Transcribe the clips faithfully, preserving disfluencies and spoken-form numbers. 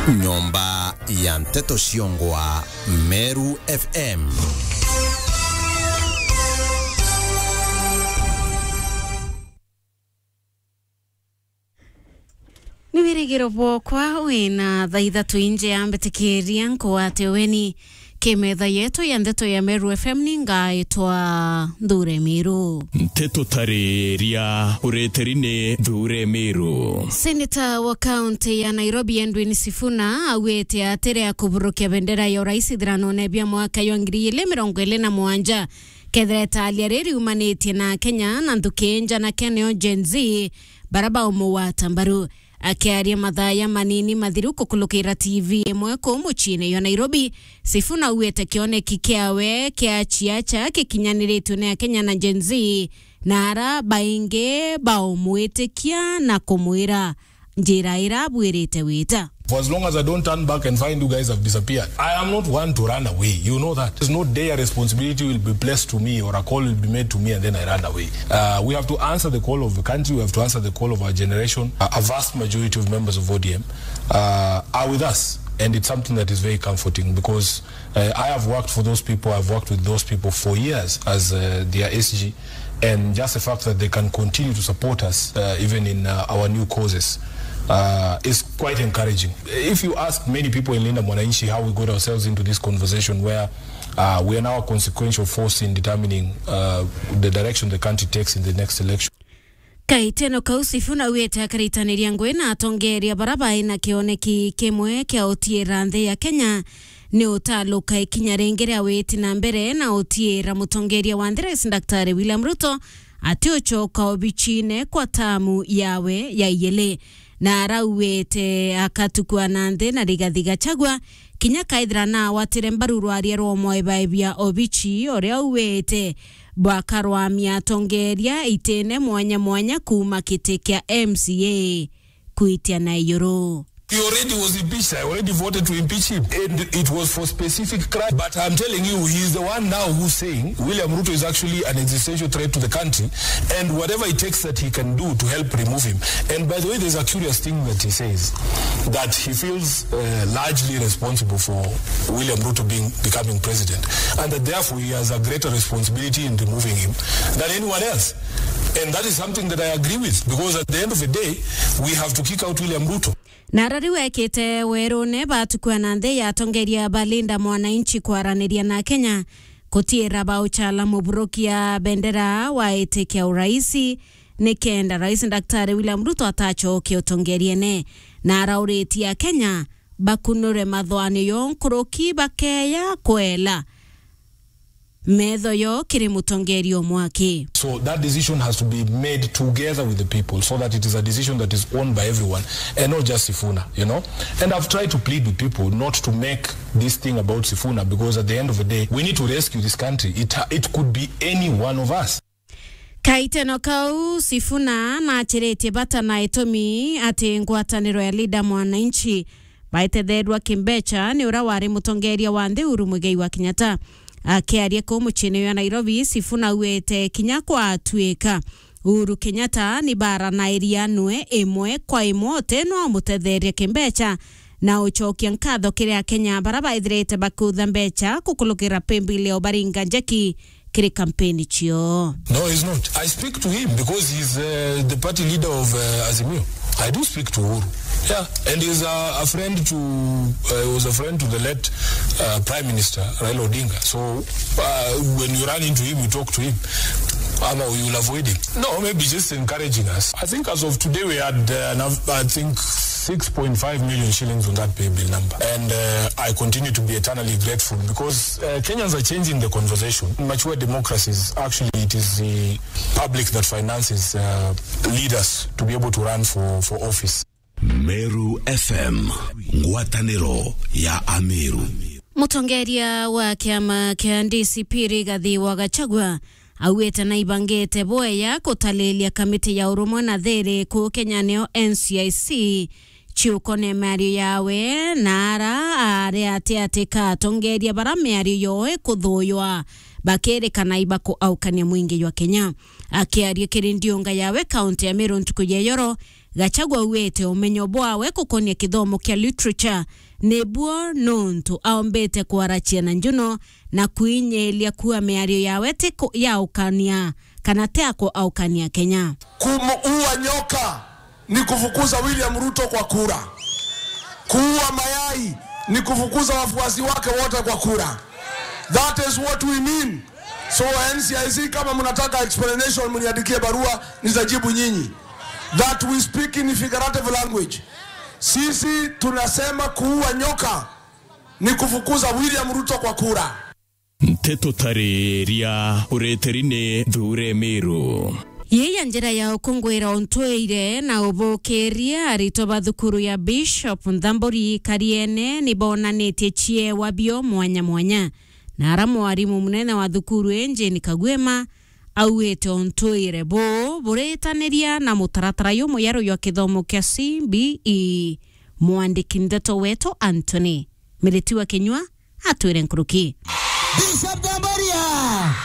Nyomba ya nteto ciongwa Meru F M. Ni wirigiro bwokwa wina thaa ithatu inje ya mbitikiria nkwate weni ki metha yetu ya ndeto ya Meru F M. Ni ngaitwa Nthure Miru. Nteto tariria ureteri ni Nthure Miru. Seneta wa kaunti ya Nairobi Edwin Sifuna augite atiria kuburukia bendera ya urais ithiranone bia mwaka jwa ngiri igiri mirongo iri na mugwanja kethira italia riri riumanitie na Kenya na nthuki nja na keneo Gen Z bara baumugwata mbaru. Akiaria mathaa ya manini mathiru kukulukira T V imwe kuu muciine jwa Nairobi, Sifuna augite kioneki kiawe kia ciaca gikinyaniritue ni Akenya na Gen Z, na ara baingi baumwitikia na kumwira njira ira abuirite wita. For as long as I don't turn back and find you guys have disappeared, I am not one to run away. You know that. There's no day a responsibility will be placed to me or a call will be made to me and then I run away. Uh, we have to answer the call of the country. We have to answer the call of our generation. A, a vast majority of members of O D M, uh, are with us, and it's something that is very comforting because, uh, I have worked for those people. I've worked with those people for years as, uh, their S G, and just the fact that they can continue to support us, uh, even in, uh, our new causes, uh, is quite encouraging. If you ask many people in Linda Mwananchi how we got ourselves into this conversation where, uh, we are now a consequential force in determining, uh, the direction the country takes in the next election. Kaiteno kau Sifuna augite akaritaniria ngugi na atongeria bara bai na kioneki kimwe kia utiira nthi ya Kenya ni utaluka ikinya ringi ria witi na mbere na utiira mutongeria wa nthi Rais Daktari William Ruto ati ucoka obicine kwa tamu yawe ya ijiri. Na arauite akatukua na nthi na Rigathi Gachagua kinya kaithira naawatire mbaru rwaria rwa mwaebaebia obici uria auite bwakarwamia atongeria itine mwanya mwanya kuuma giti kia M C A kwitia na ijuru. He already was impeached. I already voted to impeach him. And it was for specific crime. But I'm telling you, he is the one now who's saying William Ruto is actually an existential threat to the country. And whatever it takes that he can do to help remove him. And by the way, there's a curious thing that he says, that he feels, uh, largely responsible for William Ruto being, becoming president. And that therefore he has a greater responsibility in removing him than anyone else. And that is something that I agree with, because at the end of the day, we have to kick out William Ruto. Na ara riu ekite werune batukua na nthi ya atongeria ba Linda Mwananchi kwaraniria na Kenya, kutiira bauchala muburukia bendera wa iti kia uraisi, nikenda Rais Daktari William Ruto atacoke utongeriene. Na arauritie Akenya bakunure mathwanio yo nkuruki bakeya kwela metho yo kiri mutongeria umwe aki. So that decision has to be made together with the people so that it is a decision that is owned by everyone and not just Sifuna, you know. And I've tried to plead with people not to make this thing about Sifuna, because at the end of the day, we need to rescue this country. It, it could be any one of us. Kaiteno kau, Sifuna naachiritie bata na itumi ati ngwataniro ya Linda Mwananchi baitetheerua kimbecha ni uria wari mutongeria wa nthi Uhuru Muigai wa Kenyatta. Akiaria kuu muciine jwa Nairobi, Sifuna auite kinya kwatuika Uhuru Kenyatta ni baranairia nwe imwe kwa imwe uti no amutetheerie kimbecha na ucokia nkatho kiri Akenya bara baithirite bakiutha mbecha kukulukira paybill ya Obaringa Njeki kiri kampeni cio. No, he's not. I speak to him because he's, uh, the party leader of, uh, Azimio. I do speak to Uhuru. Yeah, and he's a, a friend to, uh, he was a friend to the late, uh, Prime Minister Raila Odinga. So, uh, when you run into him, you talk to him. Ama you'll avoid him. No, maybe just encouraging us. I think as of today, we had, uh, enough, I think, six point five million shillings on that paybill number. And, uh, I continue to be eternally grateful because, uh, Kenyans are changing the conversation. In mature democracies, actually, it is the public that finances, uh, leaders to be able to run for, for office. Meru F M, ngwataniro ya Ameru. Mutongeria wa kiama kia D C P Rigathi wa Gachagua augite naibangite bwega gutaliria kamiti ya urumwe na thiri kuu Kenya, niyo N C I C, ciukone miario yawe na ara ari ati ati katongeria bara miario yoo ikuthuywa bakirikana ibakuaukania mwingi jwa Kenya. Akiaria kiri ndiunga yawe kaunti ya Meru ntuku ya iyoro, Gachagua augite umenyo bwawe gukonia kithomo kia literature nibuo nontu aombite kwarachia na njuno na kwinyiria kuuga miario yawe ti ku-, ya ukania kana ti ya kuaukania Kenya. Kumuua nyoka ni kufukuza William Ruto kwa kura. Kuua mayai ni kufukuza wafuasi wake wote kwa kura. That is what we mean. So N C I C, kama mnataka explanation, mniandikie barua, nitajibu nyinyi. That we speak in figurative language. Sisi tunasema kuua nyoka ni kufukuza William Ruto kwa kura. Nteto tariria ureteri ni Thure Miru. Yii ya njira ya ukungwira untwire na ubukiria, aritwa ba thukuru ya Bishop Nthamburi Kariene ni bonanitie ciewa bio mwanya mwanya, na ara mwarimu munene wa thukuru ii Jane Kagwema augite untwire buu buritaniria na mutaratara jumweru jwa kithomo kia C B E. Mwandiki ndeto wetu Anthony Miriti wa Kinyua atwire nkuruki. Bishop Nthamburi!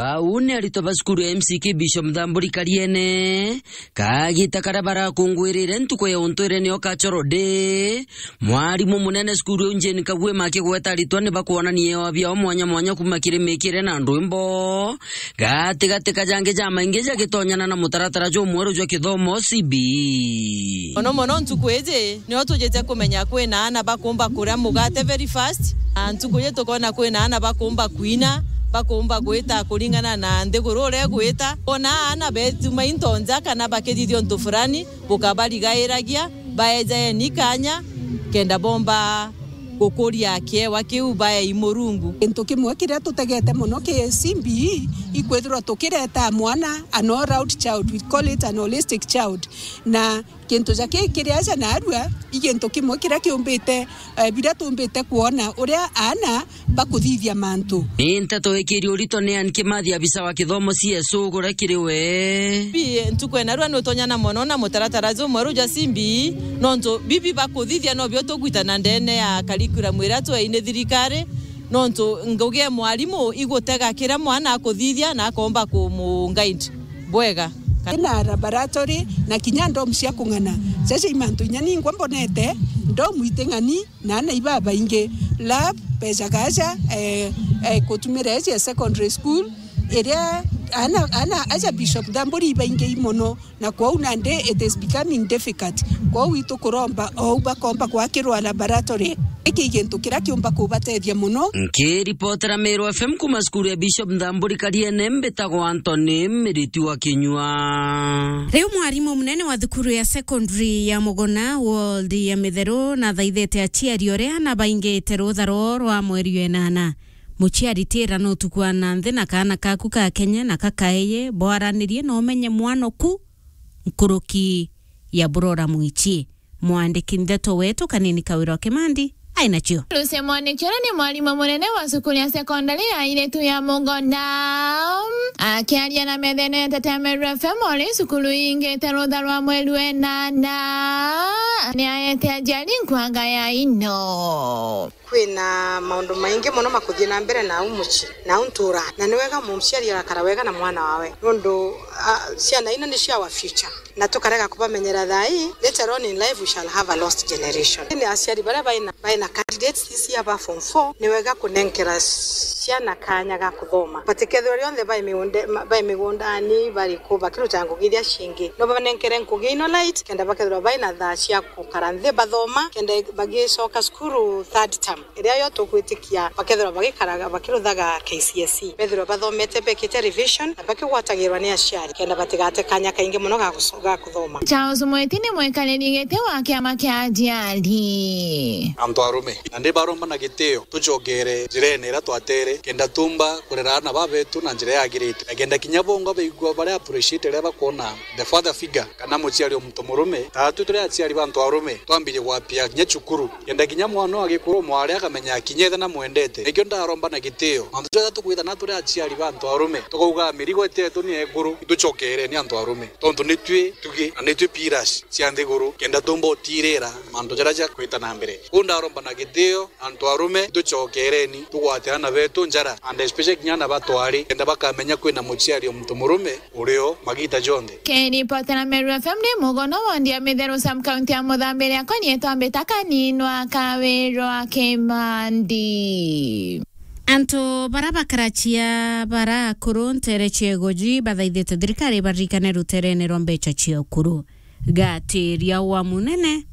Bau ni aritwa ba cukuru ya M C K Bishop Nthamburi Kariene. Kagita karia barakungwirire ntuku ya untwire nio Cultural Day, mwarimu munene cukuru iu Jane Kagwema akigweta aritwa ni bakwonania ewa biao mwanya mwanya kuuma kiri mikire na ndwimbo, gatigati ka jangi jamaingi jagitonyana na mutaratara jumweru jwa kithomo C B E. Mono mono ntuku iji, nio tujite kumenya kwina aana bakumba kuria mugate very fast, na ntuku iji tukona kwina aana bakumba kwina, bakumba gwita kuringana na nthiguru uria igwita. Ona aana betuma into nja kana bakithithia untu fulani, bukabarigairagia, baejaeni kanya, kenda bomba gukuria kiewa kiu baei Murungu. Gintu kimwe kiria tutegete mono ki C B E, ikwithirwa tukireta mwana an all-round child, we call it an holistic child, na gintu ja ki kiri aja narua, i gintu kimwe kiria kiumbite, eh, biria tuumbite kwona uria aana bakuthithia mantu. Ni nteto ikiri urito ni Ann Kimathi, abisa wa kithomo C S O, uguria kiri we. Bi, ntuku ya narua ni utonyana mono na mutaratara jumweru jwa C B E, nontu bibi bakuthithia nobio tugwitana ndene ya curriculum iria twei ni thirikari, nontu ngugi ya mwarimu igutega kiria mwana akuthithia na akomba kumu guide bwega. Ina laboratory na kinya ndom cia kung'ana. Jaja i mantu inya ningwa mbonete, ndom iti ng'ani, na aana ibabaingi. Lab, bejaga aja, eh, eh, kutumira iji ya secondary school, iria aana, aana aja Bishop Nthamburi ibaingi i mono, na kwou nandi it is becoming difficult. Kwou itukuromba ou bakomba gwakirwa laboratory. Iki i gintu kiria kiumba kubatethia mono. Nkiripotera Meru F M kuuma cukuru ya Bishop Nthamburi Kariene, mbitagwa Anthony Miriti wa Kinyua. Riu mwarimu munene wa thukuru ya secondary ya Mugona ward ya Mitheru nathaithite aciari uria na baingite rutha roo rwa mweri wa inana. Muciari tira no utuku wa na nthi na kaana kaku ka Kenya na kakaeye, bwaranirie na umenye mwana oku nkuruki ya burora mwichi. Mwandiki ndeto wetu Kanini Kawira wa Kimandi ai nacio. Lucia Mwaniki uria ni mwarimu munene wa cukuru ya sekondari ya airitu ya Mugona. Akiaria na methene ya Nteto ya Meru F M ori cukuru ingite rutha rwa mweri wa inana, ni aete aciari nkwanga ya ino. Kwina maundu maingi mono makuthii na mbere nau mucii, nau ntura, na ni wega muciari agakara wega na mwana wawe, nondu, ah, ciana ino nicio our future, na tukarega kubamenyera thaa ii, later on in life we shall have a lost generation. Ni aciari baria baina, baina candidates this year ba form four, ni wega kunenkera ciana kanya ga kuthoma. Batikethirwa rionthe bai migunde-, ma-, bai migundani, bari ku, bakiruta ngugi iria cingi. No banenkere ngugi ino light, kenda bakethirwa baina thaa cia gukara nthi bathoma, kenda bagicoka cukuru third term, iria yo tugwitikia bakethirwa bagikaraga, bakiruthaga K C S E, bethirwa bathomete, bekite revision, na bakigwatagirwa ni aciari, kenda batigate kanya kaingi mono ga guco-, ga kuthoma. Charles Mwiti ni mwikariri giti wa kiama kia aciari. Antu arume, na ndi baromba na gitio, tucokere njirene iria twatere, kenda tumba kurera aana babetu na njira yagirite, na kenda kinya bongwa baigua bari appreciate riria bakwona the father figure kana muciari o muntu murume. Taatwi turi aciari ba antu arume, twambirie gwapia kinya cukuru, kenda kinya mwana wa gikuru mwari akamenya kinya ithe namwendete. Nikio ndaromba na gitio, mantu jaria tukwithana turi aciari ba antu arume, tukauga mirigo itetu ni ekuru, itucokereni antu arume, tontu nitwi tugi na nitwi pillars cia nthiguru, kenda tumba utirira mantu jaria jakwita na mbere. Kuu ndaromba na gitio, antu arume, tucokereni, tugwate aana betu. njara, and especially kinya na batwari, kenda bakamenya kwina muciari o muntu murume urio magita jonthe. Kiripotera Meru F M ni Mugono wondi ya Mitheru sub county ya Muthambiri, akwa nietwa Mbita Kaninwa Kawirwa Kimandi. Antu bara bakarachia bara akuru ntere cia Igoji bathaithite thirikari baririkane ruterene rwa mbeca cia ukuru. Gatiria wa munene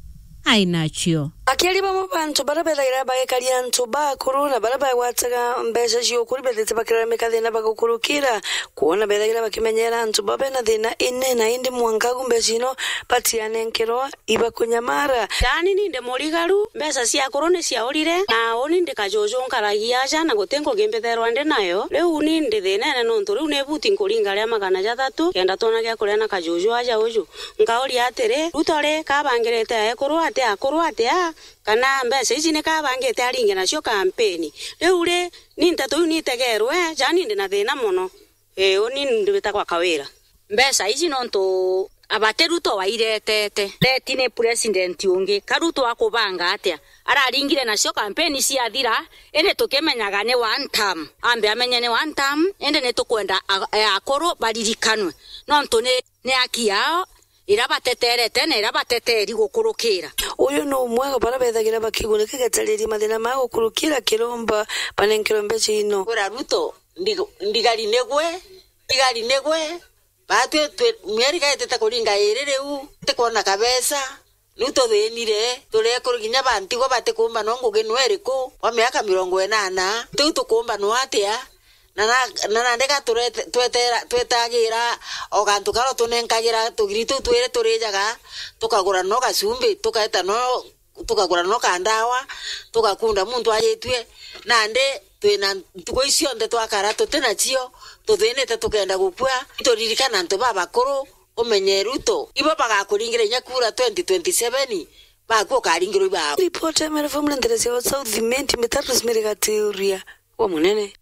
ainacio. Akiaria bamwe ba antu bara bethagira bagekaria antu ba akuru na bara bagwataga mbeca cia ukuru bethite bakiraramika thina bagukurukira, kwona bethagira bakimenyera antu ba bena thina inene, indi mwanka agu mbeca ino batianenkerwa ibakunyamara. Yaani ni ndi murigaru, mbeca cia akuru ni ciaurire, na uni ndi kajuju nkaragia aja na guti ngugi mbitherwa ndi nayo. Riu ni ndi thinene nontu riu ni buti nkuringa ria magana jathatu, kenda twona gia kuria na kajuju aja uju. Nkauria atiri, Ruto ri kabangirite aekuru atia, akuru atia, kana mbeca iji ni kabangite aringe nacio kampeni? Riu ri, ni nteto iu nitegerwe, jani ndi na thina mono. Ii, uni ndi witagwa Kawira. Mbeca iji nontu abati Ruto wairetete. Leti ni president ungi, ka Ruto akubanga atia? Araringire nacio kampeni ciathira, indi tukimenyaga ni one term. Ambe amenye ni one term, indi ni tukwenda a-, e akuru baririkanwe. Nontu ni, ni aki yao, ira bateterete na ira bateteri gukurukira. Uyu ni umwe wa bara bethagira bakigunika getariria mathina ma gukurukira kiromba banenkerwe mbeca ino. Kwira Ruto, ndi-, ndigari nigwe, ndigari nigwe, batwi twi-, mieri gaitite kuringa iri riu, tikwona kabesa, riu tuthinire, turi ekuru kinya bantigwa batikumba no ngugi nwe iriku, wa miaka mirongo inana, tiu tukumba nwe atia? Na na, na nandi ga turete-, twetera-, twetagira o gantu karia utunenkagira tugiri tuu twiri turijaga, tukagura no gacumbi, tukaeta no, tukagura no kandawa, tugakunda muntu ajitue. Nandi twina ntuku ici cionthe twakara tuti nacio, tuthinite tukenda gukua. Turirikana antu babakuru, umenye Ruto, ibo bagakuringira inya kura twenty twenty-seven, bakua ukaringirwa ibao. Ripoti ya Meru F M nteresia wa South Imenti, Mbita Rosemary Gatiuria wa Munene.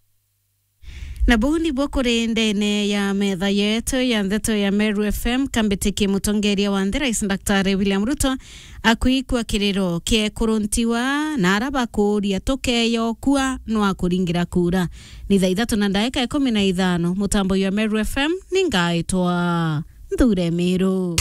Na buu nibuo kuri ndene ya metha yetu ya ndeto ya Meru F M, kambitikie mutongeria wa nthi, Rais Daktari William Ruto, akwikua kiriro kia ekuru ntigwa na ara bakuuria tukeyokua nwa kuringira kura. Ni thaa ithatu na ndaika ikumi na ithano, mutambo jwa Meru F M, ni ngaitwa Nthure Miru.